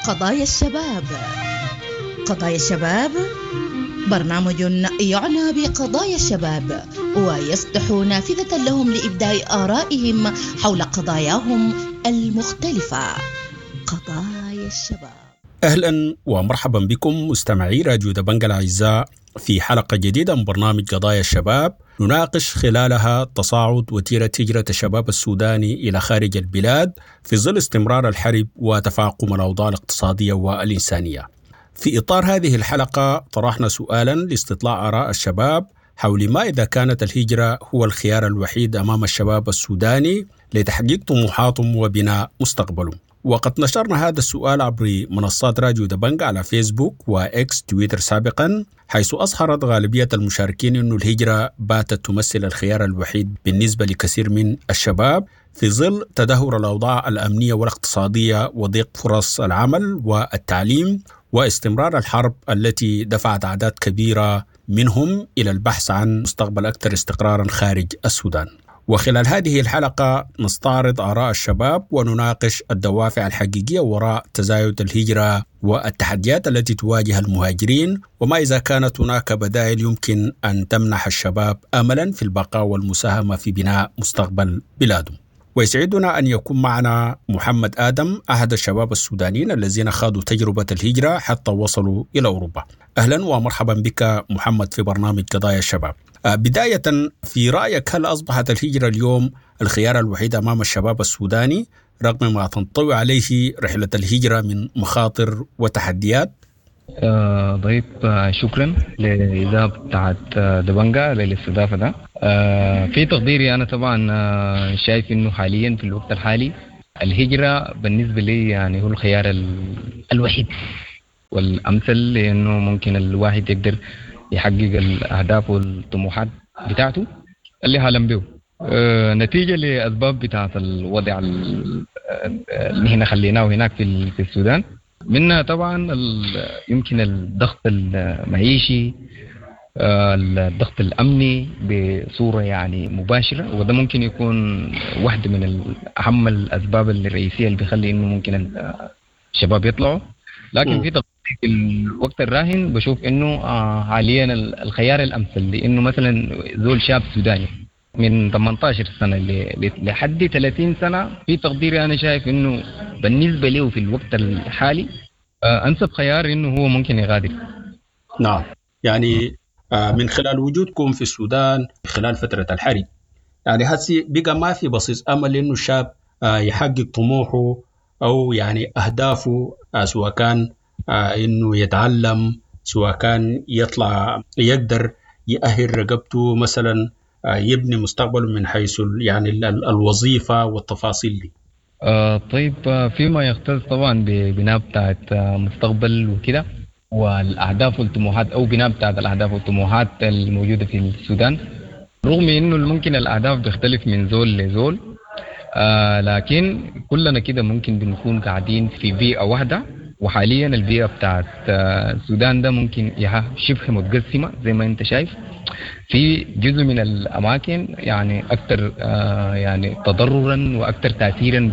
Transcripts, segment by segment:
قضايا الشباب. قضايا الشباب برنامج يعنى بقضايا الشباب ويفتح نافذة لهم لإبداء آرائهم حول قضاياهم المختلفة. قضايا الشباب. أهلا ومرحبا بكم مستمعي راديو دبنجة الأعزاء في حلقة جديدة من برنامج قضايا الشباب، نناقش خلالها تصاعد وتيرة هجرة الشباب السوداني إلى خارج البلاد في ظل استمرار الحرب وتفاقم الأوضاع الاقتصادية والإنسانية. في إطار هذه الحلقة طرحنا سؤالا لاستطلاع آراء الشباب حول ما إذا كانت الهجرة هو الخيار الوحيد أمام الشباب السوداني لتحقيق طموحاتهم وبناء مستقبلهم. وقد نشرنا هذا السؤال عبر منصات راديو دبنج على فيسبوك وإكس تويتر سابقا، حيث أظهرت غالبية المشاركين أن الهجرة باتت تمثل الخيار الوحيد بالنسبة لكثير من الشباب في ظل تدهور الأوضاع الأمنية والاقتصادية وضيق فرص العمل والتعليم واستمرار الحرب التي دفعت أعداد كبيرة منهم إلى البحث عن مستقبل أكثر استقرارا خارج السودان. وخلال هذه الحلقة نستعرض آراء الشباب ونناقش الدوافع الحقيقية وراء تزايد الهجرة والتحديات التي تواجه المهاجرين، وما إذا كانت هناك بدائل يمكن أن تمنح الشباب أملا في البقاء والمساهمة في بناء مستقبل بلادهم. ويسعدنا أن يكون معنا محمد آدم، أحد الشباب السودانيين الذين خاضوا تجربة الهجرة حتى وصلوا إلى أوروبا. أهلا ومرحبا بك محمد في برنامج قضايا الشباب. بداية، في رأيك هل أصبحت الهجرة اليوم الخيار الوحيد أمام الشباب السوداني رغم ما تنطوي عليه رحلة الهجرة من مخاطر وتحديات؟ طيب، شكرا للإذاعة بتاعت دبنجا للاستضافة ده. في تقديري أنا طبعا شايف إنه حاليا في الوقت الحالي الهجرة بالنسبة لي يعني هو الخيار الوحيد والأمثل، لأنه ممكن الواحد يقدر يحقق الأهداف والطموحات بتاعته اللي حالم به، نتيجة لأسباب بتاعت الوضع اللي هنا خليناه هناك في السودان، منها طبعا يمكن الضغط المعيشي، الضغط الأمني بصورة يعني مباشرة، وده ممكن يكون واحدة من أهم الأسباب الرئيسية اللي بيخلي إنه ممكن الشباب يطلعوا. لكن في الوقت الراهن بشوف إنه حاليا الخيار الأمثل، لأنه مثلا زول شاب سوداني من 18 سنة لحد 30 سنة، في تقديري أنا شايف إنه بالنسبة له في الوقت الحالي أنسب خيار إنه هو ممكن يغادر. نعم، يعني من خلال وجودكم في السودان خلال فترة الحرب، يعني هسي بقى ما في بصيص أمل إنه الشاب يحقق طموحه أو يعني أهدافه، سواء كان إنه يتعلم، سواء كان يطلع يقدر يأهل رقبته مثلا، يبني مستقبله من حيث يعني الوظيفة والتفاصيل دي. طيب، فيما يختص طبعا ببناء بتاعت مستقبل وكده والأهداف والطموحات، أو بناء بتاعت الأهداف والطموحات الموجودة في السودان، رغم إنه ممكن الأهداف بيختلف من زول لزول، لكن كلنا كده ممكن بنكون قاعدين في بيئة واحدة. وحاليا البيئة بتاعت السودان ده ممكن شبه متقسمة زي ما انت شايف، في جزء من الأماكن يعني أكثر يعني تضررا وأكثر تأثيرا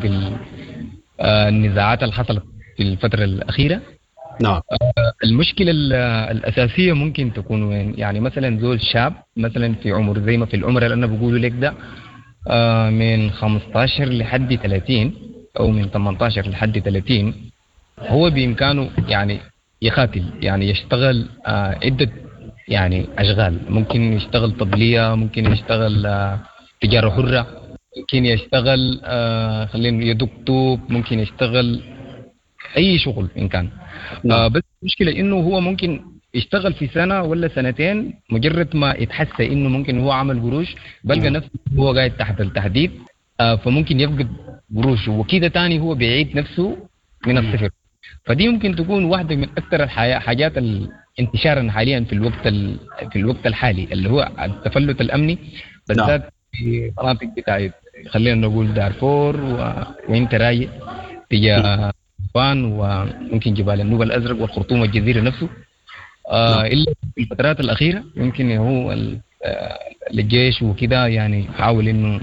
بالنزاعات اللي حصلت في الفترة الأخيرة. نعم. المشكلة الأساسية ممكن تكون وين؟ يعني مثلا زول شاب مثلا في عمر زي ما في العمر اللي أنا بقوله لك ده، من 15 لحد 30 أو من 18 لحد 30، هو بإمكانه يعني يقاتل، يعني يشتغل عدة يعني أشغال، ممكن يشتغل طبلية، ممكن يشتغل تجارة حرة، ممكن يشتغل خلينا يدق طوب، ممكن يشتغل أي شغل إن كان. بس المشكلة إنه هو ممكن يشتغل في سنة ولا سنتين، مجرد ما يتحس إنه ممكن هو عمل قروش بلقى نفسه هو قاعد تحت التهديد، فممكن يفقد قروشه وكده تاني هو بيعيد نفسه من الصفر. فدي ممكن تكون واحدة من أكثر الحاجات انتشارا حاليا في الوقت الحالي اللي هو التفلت الأمني، بالذات في مناطق بتاعت خلينا نقول دارفور وانت رايق تجاه فان وممكن جبال النوبة الأزرق والخرطوم والجزيرة نفسه. إلا في الفترات الأخيرة يمكن هو الجيش وكده يعني حاول إنه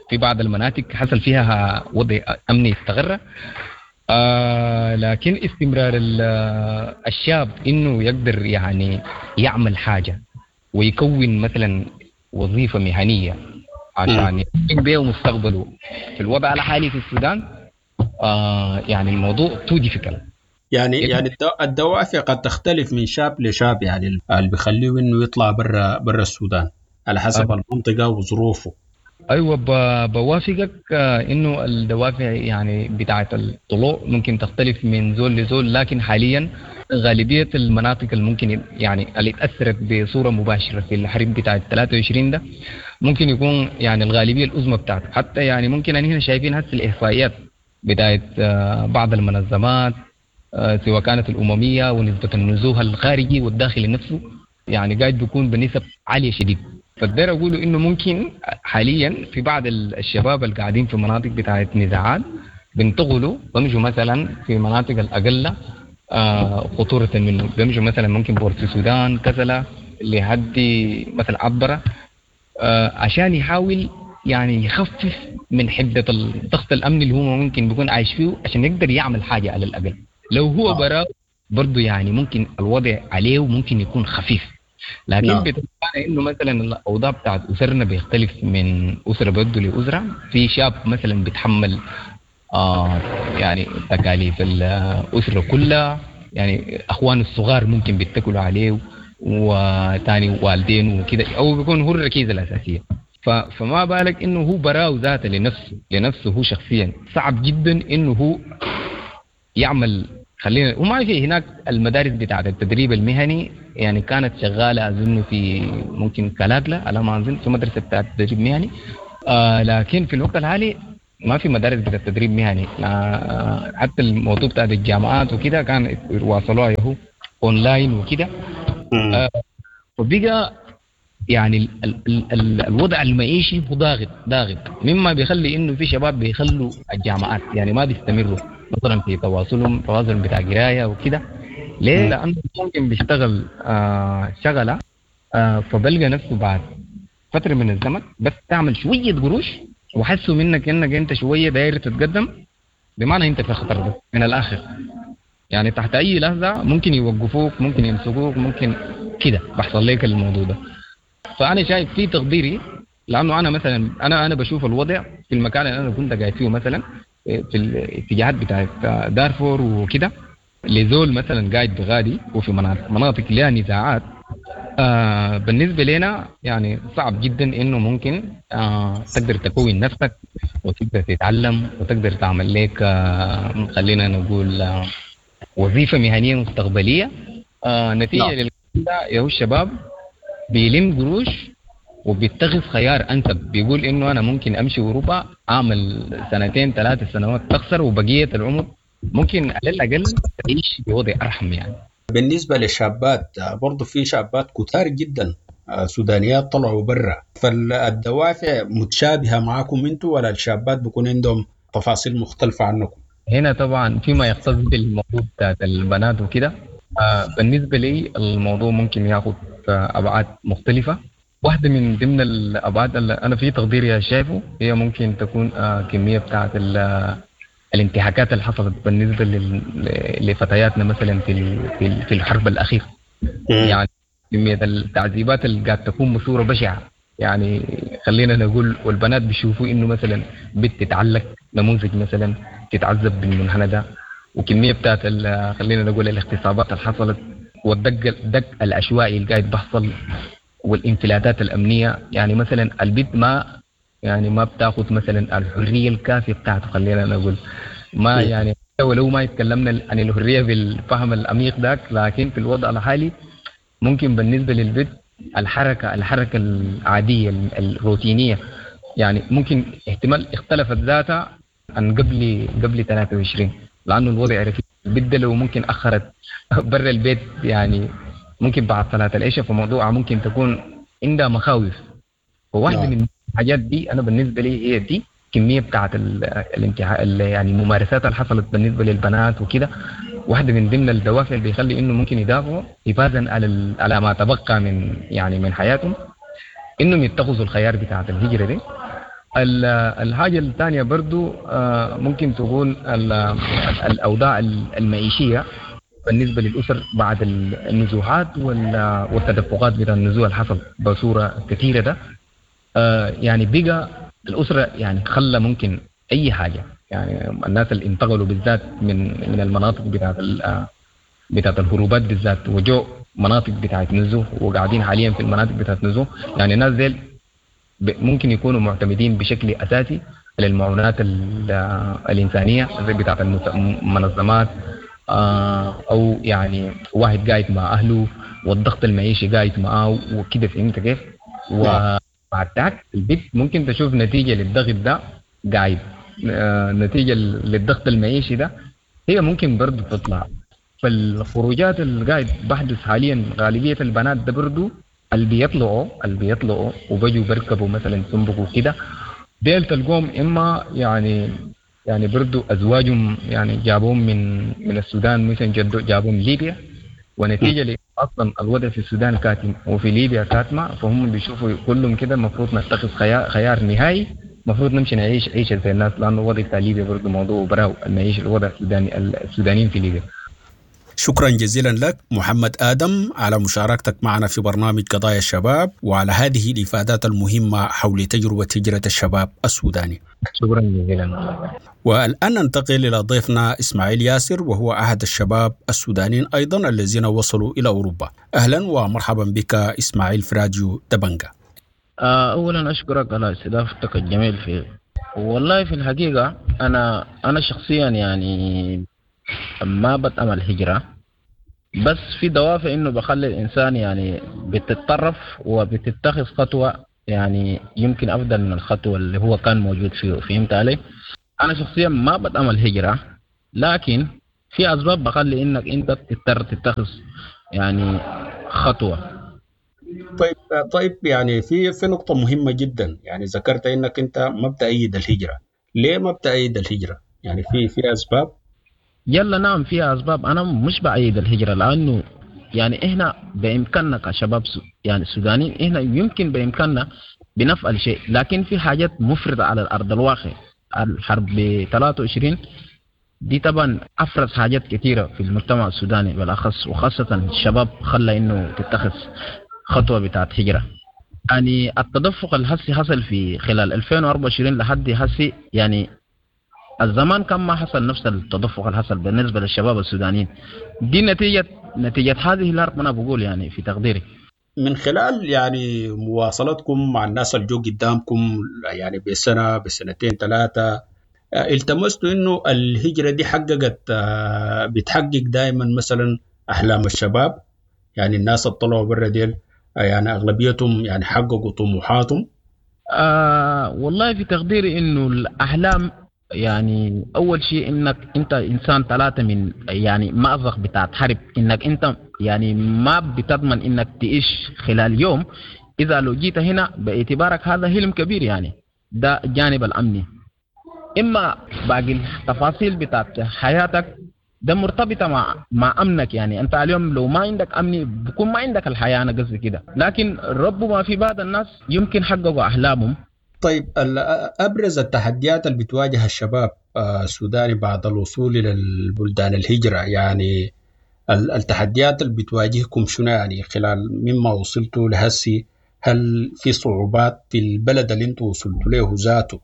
في بعض المناطق حصل فيها وضع أمني استقر. لكن استمرار الشاب انه يقدر يعني يعمل حاجة ويكون مثلا وظيفة مهنية عشان يحقق بيه مستقبله في الوضع الحالي في السودان، يعني الموضوع too difficult. يعني الدوافع قد تختلف من شاب لشاب، يعني اللي بيخليه انه يطلع برا السودان على حسب المنطقة وظروفه. ايوه، بوافقك انه الدوافع يعني بتاعه الطلوع ممكن تختلف من زول لزول، لكن حاليا غالبية المناطق اللي ممكن يعني اللي تاثرت بصورة مباشرة في الحرب بتاعه 23 ده ممكن يكون يعني الغالبية العظمى بتاعته. حتى يعني ممكن ان هنا شايفين هسه الاحصائيات بتاعه بعض المنظمات، سواء كانت الاممية ونسبه النزوح الخارجي والداخلي نفسه، يعني قاعد بيكون بنسب عالية شديد. فالداير اقوله انه ممكن حاليا في بعض الشباب اللي قاعدين في مناطق بتاعت نزاعات بينتقلوا بمشوا مثلا في مناطق الاقل خطورة منه، بيمشوا مثلا ممكن بورت السودان، كسلا، لحد مثلا عبره، عشان يحاول يعني يخفف من حده الضغط الامني اللي هو ممكن بيكون عايش فيه، عشان يقدر يعمل حاجة على الاقل. لو هو برا برضه يعني ممكن الوضع عليه ممكن يكون خفيف، لكن بتبقى انه مثلا الاوضاع بتاعت اسرنا بيختلف من اسره برضه لاسرة. في شاب مثلا بيتحمل يعني تكاليف الاسرة كلها، يعني اخوانه الصغار ممكن بيتكلوا عليه وتاني والدين وكده، او بيكون هو الركيزة الاساسية. فما بالك انه هو براو ذاته لنفسه هو شخصيا صعب جدا انه هو يعمل. خلينا وما في هناك المدارس بتاعت التدريب المهني يعني كانت شغالة اظن في ممكن كلاكلا على ما اظن في مدرسه بتاعت تدريب مهني، لكن في الوقت الحالي ما في مدارس بتاعت تدريب مهني. حتى الموضوع بتاع الجامعات وكده كان واصلوها يهو اونلاين وكده. وبقى يعني الوضع المعيشي هو ضاغط، مما بيخلي انه في شباب بيخلوا الجامعات، يعني ما بيستمروا مثلا في تواصلهم بتاع قرايه وكده. ليه؟ لانه ممكن بيشتغل شغله، فبلقى نفسه بعد فترة من الزمن بس تعمل شوية قروش وحسوا منك انك انت شوية داير تتقدم، بمعنى انت في خطر بس من الاخر. يعني تحت اي لحظة ممكن يوقفوك، ممكن يمسكوك، ممكن كده بحصل لك الموضوع ده. فانا شايف في تقديري، لانه انا مثلا انا بشوف الوضع في المكان اللي انا كنت قاعد فيه مثلا في الاتجاهات بتاعت دارفور وكده، لزول مثلا قاعد بغادي وفي مناطق لها نزاعات، بالنسبة لنا يعني صعب جدا انه ممكن تقدر تكون نفسك وتقدر تتعلم وتقدر تعمل لك خلينا نقول وظيفة مهنية مستقبلية. نتيجة للكلام يا الشباب بيلم قروش وبيتخذ خيار انسب، بيقول انه انا ممكن امشي اوروبا اعمل 2-3 سنوات تخسر، وبقية العمر ممكن على الاقل تعيش بوضع ارحم. يعني بالنسبة للشابات برضو في شابات كتار جدا سودانيات طلعوا برا، فالدوافع متشابهة معكم انتوا ولا الشابات بيكون عندهم تفاصيل مختلفة عنكم؟ هنا طبعا فيما يختص بالموضوع بتاعت البنات وكده، بالنسبة لي الموضوع ممكن ياخذ ابعاد مختلفة. واحدة من ضمن الأبعاد اللي أنا في تقديري شايفه هي ممكن تكون كمية بتاعت الانتهاكات اللي حصلت بالنسبة لفتياتنا مثلا في الحرب الأخيرة. يعني كمية التعذيبات اللي قاعد تكون بصورة بشعة، يعني خلينا نقول، والبنات بيشوفوا إنه مثلا بنت تتعلق نموذج مثلا تتعذب بالمنحنى ده، وكمية بتاعت خلينا نقول الاغتصابات اللي حصلت والدق الدق العشوائي اللي قاعد بحصل والانفلاتات الامنية. يعني مثلا البنت ما بتاخذ مثلا الحرية الكافيه بتاعته، خلينا نقول ما يعني ولو ما يتكلمنا عن الحرية بالفهم العميق ذاك، لكن في الوضع الحالي ممكن بالنسبة للبنت الحركة العادية الروتينية يعني ممكن احتمال اختلفت ذاتها عن قبل 23، لانه الوضع ركيك. البنت لو ممكن اخرت برا البيت يعني ممكن بعد صلاة العشاء، فموضوعها ممكن تكون عندها مخاوف. فواحدة من الحاجات دي أنا بالنسبة لي هي دي كمية بتاعت الانتهاء، يعني الممارسات اللي حصلت بالنسبة للبنات وكده، واحدة من ضمن الدوافع اللي بيخلي إنه ممكن يدافعوا حفاظا على ما تبقى من يعني من حياتهم، إنهم يتخذوا الخيار بتاعت الهجرة دي. الحاجة الثانية برضو ممكن تكون الاوضاع المعيشية بالنسبة للاسر بعد النزوحات والتدفقات بتاع النزوح اللي حصل بصورة كثيرة ده، يعني بقى الاسرة يعني خلى ممكن اي حاجة، يعني الناس اللي انتقلوا بالذات من المناطق بتاعت الهروبات بالذات وجو مناطق بتاعت نزوح وقاعدين حاليا في المناطق بتاعت نزوح، يعني الناس ديل ممكن يكونوا معتمدين بشكل اساسي على المعونات الانسانية زي بتاعت المنظمات، او يعني واحد قاعد مع اهله والضغط المعيشي قاعد معاه وكده، فهمت كيف؟ وبعد ذاك البيت ممكن تشوف نتيجة للضغط ده قاعد، نتيجة للضغط المعيشي ده هي ممكن برضو تطلع. فالخروجات اللي قاعد بحدث حاليا غالبية البنات ده برضو اللي بيطلعوا وبجوا بركبوا مثلا سنبك وكده، ديل تلقوهم اما يعني برضو ازواجهم يعني جابوهم من السودان مثلا جابوهم ليبيا، ونتيجة اصلا الوضع في السودان كاتم وفي ليبيا كاتمه، فهم بيشوفوا كلهم كده المفروض نتخذ خيار نهائي، المفروض نمشي نعيش عيشه زي الناس، لانه الوضع بتاع ليبيا برضو موضوع براو المعيشة الوضع السوداني السودانيين في ليبيا. شكرا جزيلا لك محمد آدم على مشاركتك معنا في برنامج قضايا الشباب وعلى هذه الإفادات المهمة حول تجربة هجرة الشباب السوداني. شكرا جزيلا. والآن ننتقل إلى ضيفنا إسماعيل ياسر، وهو أحد الشباب السودانيين أيضا الذين وصلوا إلى أوروبا. أهلا ومرحبا بك إسماعيل في راديو دبنجة. أولا أشكرك على استضافتك الجميل في والله في الحقيقة أنا شخصيا يعني ما بتأمل هجرة، بس في دوافع إنه بخلي الإنسان يعني بتتطرف وبتتخذ خطوة يعني يمكن أفضل من الخطوة اللي هو كان موجود فيه، فهمت علي؟ أنا شخصيا ما بتأمل هجرة، لكن في أسباب بخلي إنك أنت تضطر تتخذ يعني خطوة. طيب يعني في نقطة مهمة جدا، يعني ذكرت إنك أنت ما بتأيد الهجرة، ليه ما بتأيد الهجرة؟ يعني في أسباب؟ يلا نعم فيها أسباب. أنا مش بأيد الهجرة لأنه يعني إحنا بإمكاننا كشباب يعني السودانيين إحنا يمكن بإمكاننا بنفعل شيء، لكن في حاجات مفرطة على الأرض الواقع. الحرب 23 دي طبعا أفرز حاجات كثيرة في المجتمع السوداني بالأخص، وخاصة الشباب خلى إنه تتخذ خطوة بتاعت هجرة. يعني التدفق الهسي حصل في خلال 2024 لحد هسي، يعني الزمان كان ما حصل نفس التدفق اللي حصل بالنسبة للشباب السودانيين. دي نتيجة هذه الحرب أنا بقول يعني في تقديري. من خلال يعني مواصلتكم مع الناس اللي جو قدامكم يعني بسنة بسنتين ثلاثة، التمستوا إنه الهجرة دي حققت بتحقق دائما مثلا أحلام الشباب؟ يعني الناس اللي طلعوا برا ديل يعني أغلبيتهم يعني حققوا طموحاتهم؟ والله في تقديري إنه الأحلام يعني أول شيء إنك أنت إنسان ثلاثة من يعني مأزق بتاعت حرب، إنك أنت يعني ما بتضمن إنك تعيش خلال يوم. إذا لو جيت هنا باعتبارك هذا حلم كبير، يعني ده الجانب الأمني. إما باقي التفاصيل بتاعت حياتك ده مرتبطة مع أمنك، يعني أنت اليوم لو ما عندك أمني بكون ما عندك الحياة، أنا قصدي كده. لكن ربما في بعض الناس يمكن حققوا أحلامهم. طيب أبرز التحديات اللي بتواجه الشباب السوداني بعد الوصول إلى البلدان الهجرة، يعني التحديات اللي بتواجهكم شنو يعني خلال مما وصلتوا لهسي؟ هل في صعوبات في البلد اللي انتوا وصلتوا له ذاته؟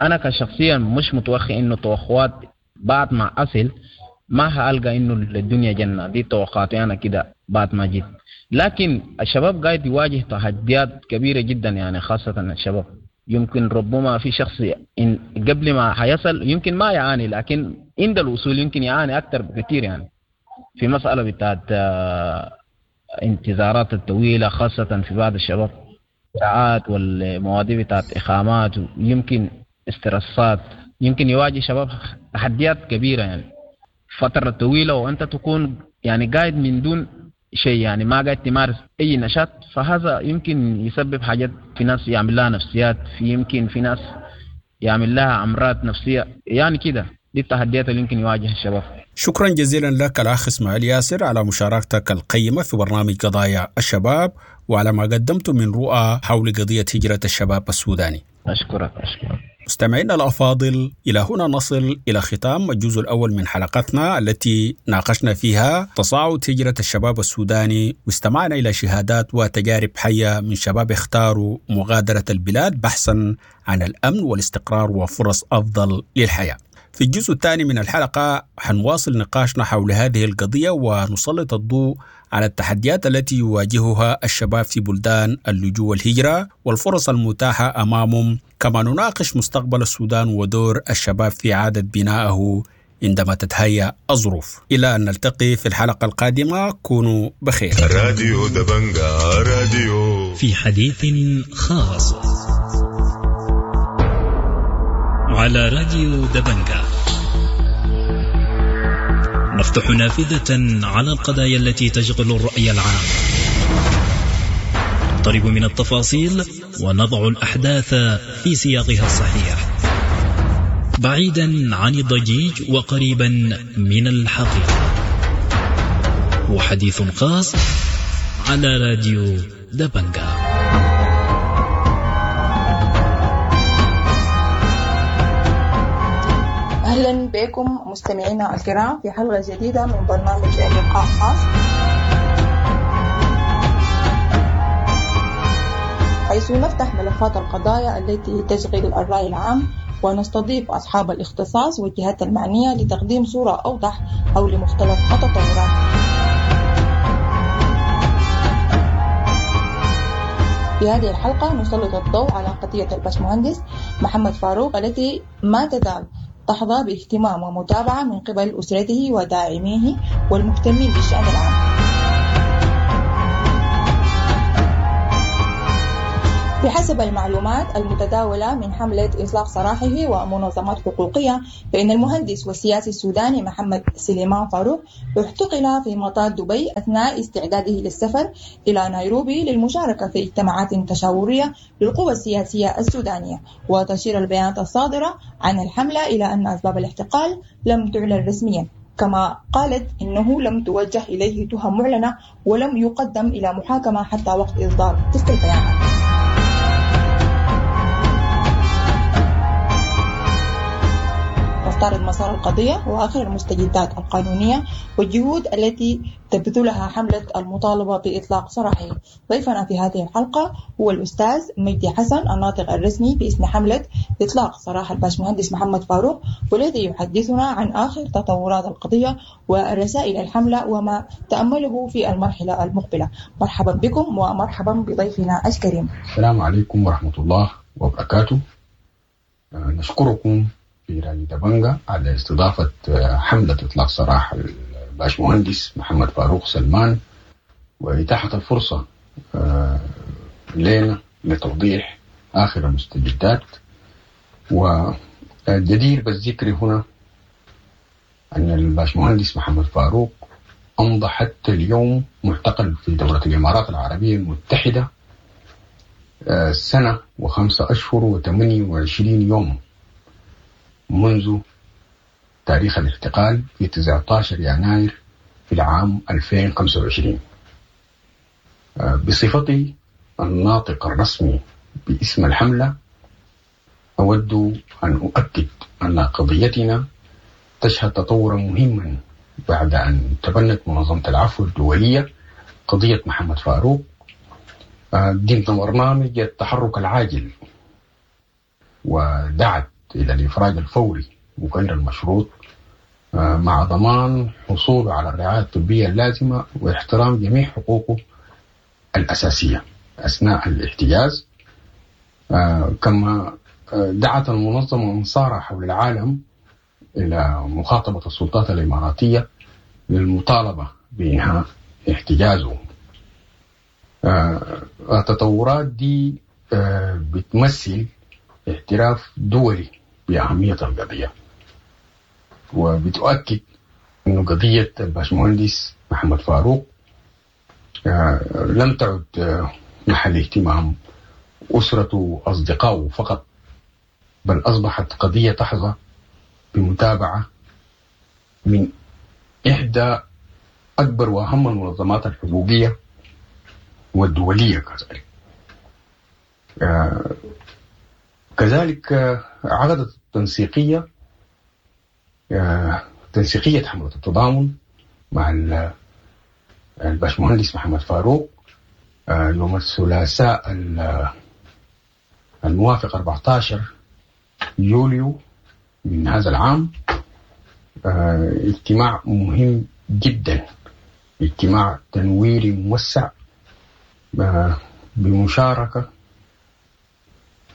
أنا كشخصيا مش متوخي إنه توقعات بعد ما أصل ما هألقى إنه الدنيا جنة، دي توقعاتي أنا كده بعد ما جيت. لكن الشباب قاعد يواجه تحديات كبيرة جدا، يعني خاصة الشباب يمكن ربما في شخص إن قبل ما حيصل يمكن ما يعاني، لكن عند الوصول يمكن يعاني أكثر بكثير. يعني في مسألة بتاعت انتظارات الطويلة خاصة في بعض الشباب، ساعات والمواضيع بتاعت إقامات ويمكن استرسات، يمكن يواجه شباب تحديات كبيرة يعني فترة طويلة وأنت تكون يعني قاعد من دون شيء، يعني ما قاعد تمارس أي نشاط، فهذا يمكن يسبب حاجات في ناس يعمل لها نفسيات، في يمكن في ناس يعمل لها أمراض نفسية، يعني كده دي التحديات اللي يمكن يواجه الشباب. شكرا جزيلا لك الأخ إسماعيل ياسر على مشاركتك القيمة في برنامج قضايا الشباب وعلى ما قدمته من رؤى حول قضية هجرة الشباب السوداني. أشكرك. مستمعينا الأفاضل، إلى هنا نصل إلى ختام الجزء الأول من حلقتنا التي ناقشنا فيها تصاعد هجرة الشباب السوداني، واستمعنا إلى شهادات وتجارب حية من شباب اختاروا مغادرة البلاد بحثا عن الأمن والاستقرار وفرص أفضل للحياة. في الجزء الثاني من الحلقة حنواصل نقاشنا حول هذه القضية ونسلط الضوء على التحديات التي يواجهها الشباب في بلدان اللجوء والهجرة والفرص المتاحة أمامهم، كما نناقش مستقبل السودان ودور الشباب في إعادة بنائه عندما تتهيأ الظروف. إلى أن نلتقي في الحلقة القادمة، كونوا بخير. راديو دبنجا راديو في حديث خاص على راديو دبنجا، نفتح نافذة على القضايا التي تشغل الرأي العام، نقترب من التفاصيل ونضع الأحداث في سياقها الصحيح، بعيدا عن الضجيج وقريبا من الحقيقة. وحديث خاص على راديو دبنجا. أهلا بكم مستمعينا الكرام في حلقة جديدة من برنامج لقاء خاص، حيث نفتح ملفات القضايا التي تشغل الرأي العام ونستضيف أصحاب الاختصاص والجهات المعنية لتقديم صورة أوضح حول مختلف التطورات. في هذه الحلقة نسلط الضوء على قضية الباشمهندس محمد فاروق التي ما تزال تحظى باهتمام ومتابعة من قبل أسرته وداعميه والمهتمين بالشأن العام. بحسب المعلومات المتداولة من حملة إطلاق سراحه ومنظمات حقوقية، فإن المهندس والسياسي السوداني محمد سليمان فاروق اعتقل في مطار دبي أثناء استعداده للسفر إلى نيروبي للمشاركة في اجتماعات تشاورية للقوى السياسية السودانية. وتشير البيانات الصادرة عن الحملة إلى أن أسباب الاعتقال لم تعلن رسميا، كما قالت إنه لم توجه إليه تهم معلنة ولم يقدم إلى محاكمة حتى وقت إصدار تلك البيانات. نستعرض مسار القضية وآخر المستجدات القانونية والجهود التي تبذلها حملة المطالبة بإطلاق سراحه. ضيفنا في هذه الحلقة هو الأستاذ مجدي حسن، الناطق الرسمي باسم حملة إطلاق سراح الباشمهندس محمد فاروق، والذي يحدثنا عن آخر تطورات القضية ورسائل الحملة وما تأمله في المرحلة المقبلة. مرحبا بكم ومرحبا بضيفنا الكريم. السلام عليكم ورحمة الله وبركاته. نشكركم في راديو دبنجا على استضافة حملة إطلاق سراح الباشمهندس محمد فاروق سلمان وإتاحة الفرصة لنا لتوضيح آخر المستجدات. والجدير بالذكر هنا أن الباشمهندس محمد فاروق أمضى حتى اليوم معتقل في دولة الإمارات العربية المتحدة سنة و5 أشهر و28 يوم منذ تاريخ الاعتقال في 19 يناير في العام 2025. بصفتي الناطق الرسمي باسم الحملة، أود أن أؤكد أن قضيتنا تشهد تطورا مهما بعد أن تبنت منظمة العفو الدولية قضية محمد فاروق ضمن برنامج التحرك العاجل، ودعت إلى الإفراج الفوري وغير المشروط مع ضمان حصوله على الرعاية الطبية اللازمة واحترام جميع حقوقه الأساسية أثناء الاحتجاز. كما دعت المنظمة أنصارها حول العالم إلى مخاطبة السلطات الإماراتية للمطالبة بإنهاء احتجازه. التطورات دي بتمثل اعتراف دولي بأهمية القضية، وبتؤكد أن قضية الباشمهندس محمد فاروق لم تعد محل اهتمام أسرته وأصدقائه فقط، بل أصبحت قضية تحظى بمتابعة من إحدى أكبر وأهم المنظمات الحقوقية والدولية كذلك. كذلك عقدت التنسيقية تنسيقية حملة التضامن مع الباشمهندس محمد فاروق يوم الثلاثاء الموافق 14 يوليو من هذا العام، اجتماع مهم جدا، اجتماع تنويري موسع بمشاركة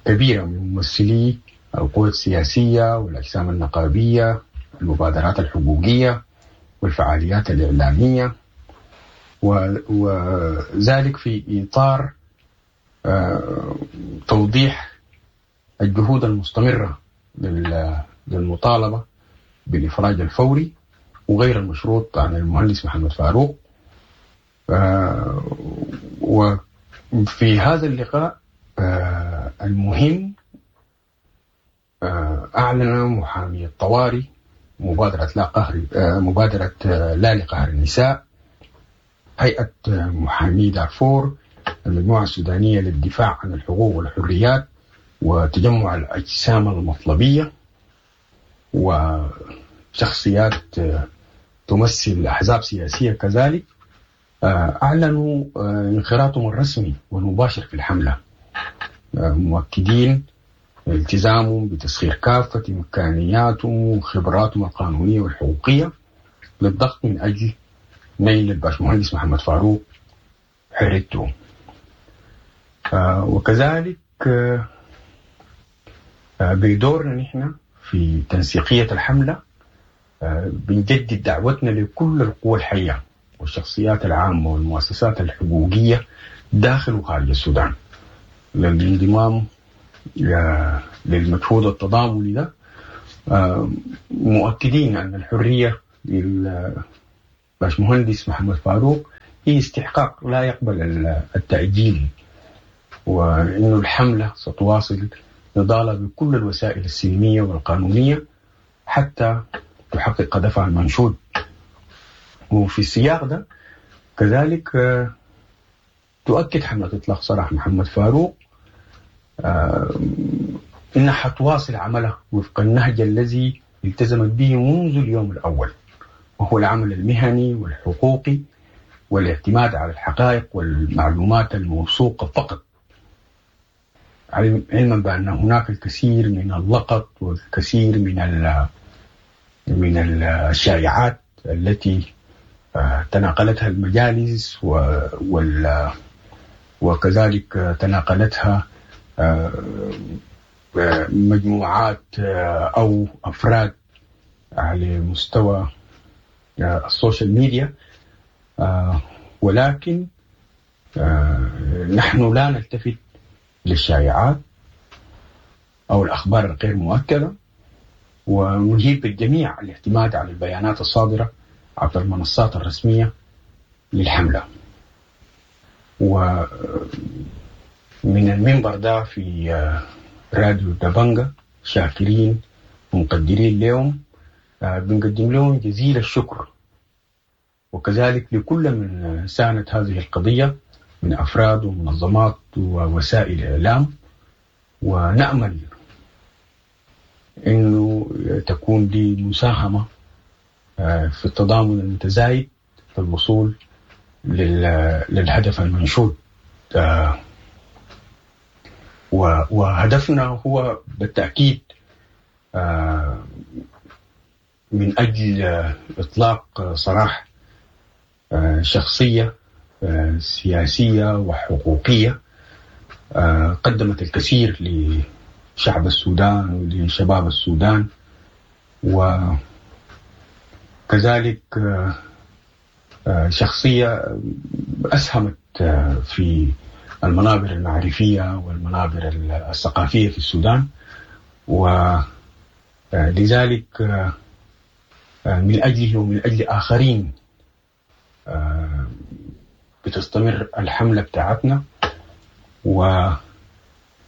كبيرة من ممثلي القوى السياسية والأجسام النقابية، المبادرات الحقوقية والفعاليات الإعلامية، وذلك في إطار توضيح الجهود المستمرة للمطالبة بالإفراج الفوري وغير المشروط عن المهندس محمد فاروق. وفي هذا اللقاء المهم أعلن محامي الطوارئ مبادرة لا قهر، مبادرة لا لقهر النساء، هيئة محامي دارفور، المجموعة السودانية للدفاع عن الحقوق والحريات، وتجمع الأجسام المطلبية، وشخصيات تمثل أحزاب سياسية كذلك، أعلنوا انخراطهم الرسمي والمباشر في الحملة، مؤكدين التزامهم بتسخير كافة إمكانياتهم وخبراتهم القانونية والحقوقية للضغط من أجل نيل الباشمهندس محمد فاروق حريته. وكذلك بدورنا نحن في تنسيقية الحملة بنجدد دعوتنا لكل القوى الحية والشخصيات العامة والمؤسسات الحقوقية داخل وخارج السودان للانضمام للمجهود التضامني ده، مؤكدين أن الحرية للباشمهندس محمد فاروق هي استحقاق لا يقبل التأجيل، وأن الحملة ستواصل نضالها بكل الوسائل السلمية والقانونية حتى تحقق هدفها المنشود. وفي السياق ده كذلك تؤكد حملة إطلاق سراح محمد فاروق إنها حتواصل عملها وفق النهج الذي التزمت به منذ اليوم الأول، وهو العمل المهني والحقوقي والاعتماد على الحقائق والمعلومات الموثوقة فقط، علما بأن هناك الكثير من اللقط والكثير من الشائعات التي تناقلتها المجالس وكذلك تناقلتها مجموعات أو أفراد على مستوى ال social media، ولكن نحن لا نلتفت للشائعات أو الأخبار الغير مؤكدة، ونهيب الجميع الاعتماد على البيانات الصادرة عبر المنصات الرسمية للحملة. ومن المنبر ده في راديو دبنجة شاكرين ومقدرين لهم، بنقدم لهم جزيل الشكر، وكذلك لكل من ساند هذه القضية من أفراد ومنظمات ووسائل إعلام، ونأمل أنه تكون دي مساهمة في التضامن المتزايد في الوصول للهدف المنشود. وهدفنا هو بالتأكيد من أجل إطلاق سراح شخصية سياسية وحقوقية قدمت الكثير لشعب السودان ولشباب السودان، وكذلك شخصية أسهمت في المنابر المعرفية والمنابر الثقافية في السودان، ولذلك من أجله ومن أجل آخرين بتستمر الحملة بتاعتنا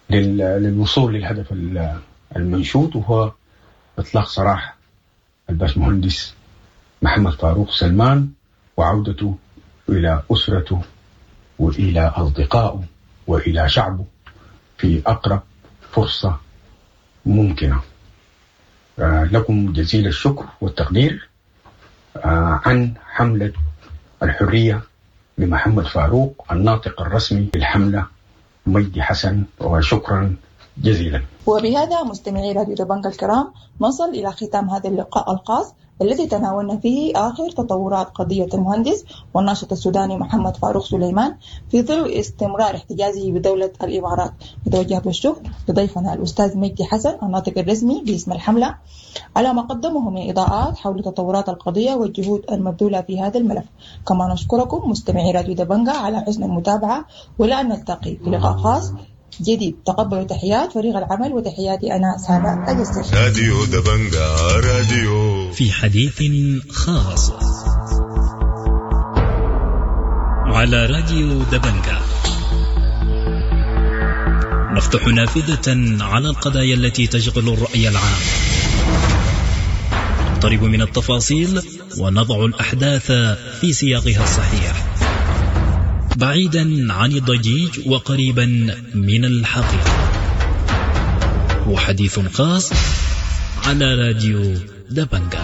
وللوصول للهدف المنشود، وهو إطلاق سراح الباشمهندس محمد فاروق سلمان وعودته إلى أسرته وإلى أصدقائه وإلى شعبه في أقرب فرصة ممكنة. لكم جزيل الشكر والتقدير عن حملة الحرية لمحمد فاروق، الناطق الرسمي للحملة مجدي حسن، وشكرا جزيلا. وبهذا مستمعي راديو دبنجا الكرام نصل إلى ختام هذا اللقاء الخاص الذي تناولنا فيه آخر تطورات قضية المهندس والناشط السوداني محمد فاروق سليمان في ظل استمرار احتجازه بدولة الإمارات. نتوجه بالشكر لضيفنا الأستاذ مجدي حسن الناطق الرسمي باسم الحملة على ما قدمه من إضاءات حول تطورات القضية والجهود المبذولة في هذا الملف. كما نشكركم مستمعي راديو دبنجا على حسن المتابعة، ولا نلتقي في لقاء خاص جديد. تقبلوا تحيات فريق العمل وتحياتي أنا سارة أجسر. راديو دبنجا راديو في حديث خاص على راديو دبنجا، نفتح نافذة على القضايا التي تشغل الرأي العام، نقترب من التفاصيل ونضع الأحداث في سياقها الصحيح، بعيدا عن الضجيج وقريبا من الحقيقة. وحديث خاص على راديو دبنجا.